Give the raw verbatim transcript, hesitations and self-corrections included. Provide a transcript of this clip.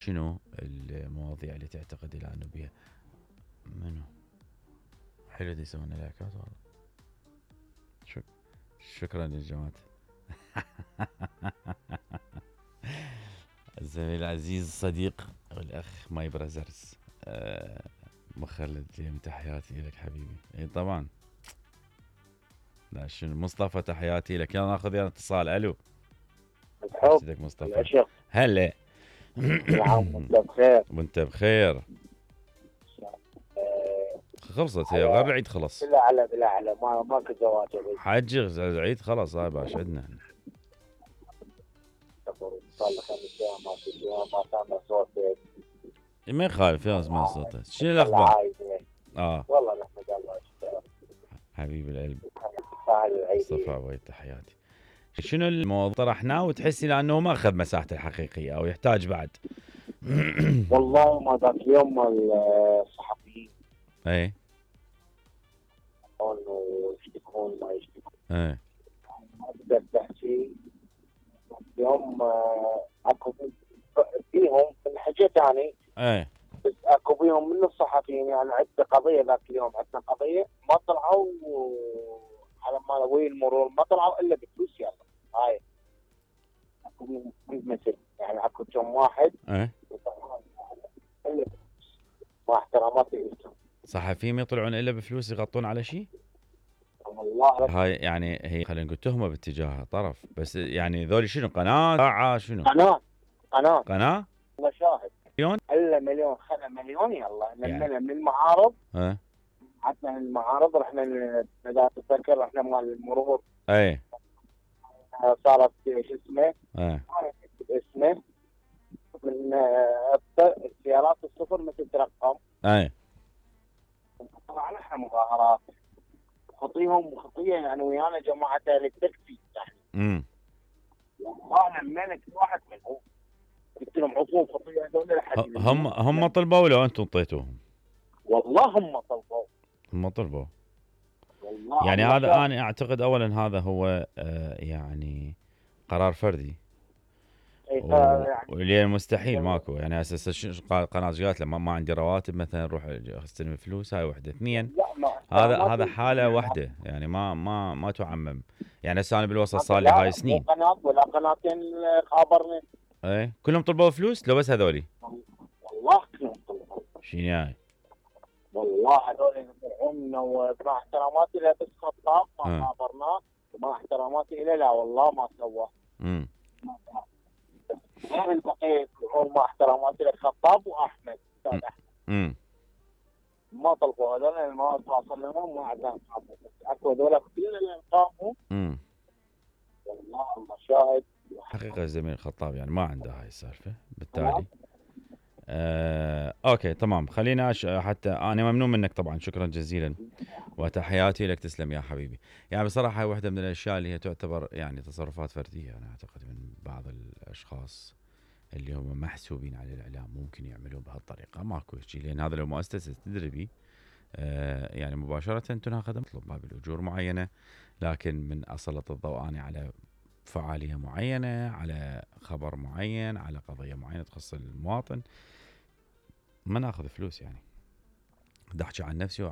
شنو المواضيع اللي تعتقد الى انه بيها منو حلو دي يسوون لايكات والله. شك... شكرا للجماعة. الزميل العزيز الصديق والاخ ماي برازرز أه مخلد اليوم تحياتي لك حبيبي. اي طبعا. لا شنو مصطفى تحياتي لك. يلا ناخذ يلا اتصال. الو الحب مصطفى العشق. هلا. نعم وانت بخير. وانت بخير. خلصت هي غير العيد خلص. بلا على بلا على ما ماكو زواج حج العيد خلص هاي باش عندنا. صار له خمس ايام ما في ايام ما سامع صوتك. ما يخالف يا اسمع صوتك. شنو الاخبار؟ اه والله نحمد الله. حبيب القلب مصطفى عويد تحياتي. شنو الموضوع طرحناه وتحسي لانه ما اخذ مساحته الحقيقيه او يحتاج بعد؟ والله ما ذاك اليوم الصحفيين اي انه يشتكون ما يشتكون اي ما اقدر تحكي. اليوم اكو فيهم من حكيت اني اي بس اكو بيهم من الصحفيين يعني عندنا قضيه ذاك اليوم عندنا قضيه ما طلعوا على ما وين المرور ما طلعوا الا بفلوس. يلا هاي اكو بيهم مثل يعني اكو كم واحد اي الا مع احتراماتي لهم صحفيين ما يطلعون الا بفلوس يغطون على شيء. والله هاي يعني هي خلينا نقول تهمه باتجاه طرف بس يعني ذولي شنو قناه ساعه شنو قناه قناه قناه والله شاهد مليون الا مليون خلا مليون. يلا يعني. نمنا من المعارض اه حتى من المعارض رحنا اذا تتذكر رحنا مال المرور. اي صارت شو اسمه اي اسمه من السيارات الصفر مثل ترقم. اي طبعا احنا مظاهرات خطيهم خطيه يعني ويانا جماعه التكفي يعني. امم وانا الملك واحد منهم قلت لهم عفوا خطيه هذول لحد هم هم طلبوا ولا انتم اعطيتوهم؟ والله هم طلبوا هم طلبوا والله يعني الله هذا شاهد. انا اعتقد اولا هذا هو آه يعني قرار فردي إيه و... يعني واللي مستحيل ماكو يعني اساس قناه قالت له ما, ما عندي رواتب مثلا روح استلم فلوس. هاي وحده. اثنين لا ما هذا ما هذا في- حاله واحده يعني ما ما ما تعمم يعني. هسه انا بالوسط ما- صار لي لا هاي مو سنين. قناه ولا قناتين خابرني. ايه كلهم طلبوا فلوس لو بس هذولي والله كلهم طلبوا. شنو يعني؟ والله هذول يدفعونا ومع احتراماتي له بس خطاب ما اه خابرناه ومع احتراماتي له لا والله ما سوى. امم غير التقيت مع احتراماتي لخطاب واحمد استاذ احمد امم ما طلبوا هذول ما تواصل لهم ما عندنا اكو هذول كلنا قاموا. امم والله الله شاهد. حقيقه الزميل الخطاب يعني ما عنده هاي السالفه بالتالي. آه، اوكي تمام خلينا أش... حتى انا ممنون منك طبعا شكرا جزيلا وتحياتي لك. تسلم يا حبيبي. يعني بصراحه هاي واحده من الاشياء اللي هي تعتبر يعني تصرفات فرديه انا اعتقد من بعض الاشخاص اللي هم محسوبين على الاعلام ممكن يعملون بهالطريقه. ماكو شيء لان هذا لو مؤسسه تدريبي آه يعني مباشره تناخذ مطلوب ما بالاجور معينه لكن من اسلط الضوء انا على فعاليه معينه على خبر معين على قضيه معينه تخص المواطن ما ناخذ فلوس يعني. بدي احكي عن نفسي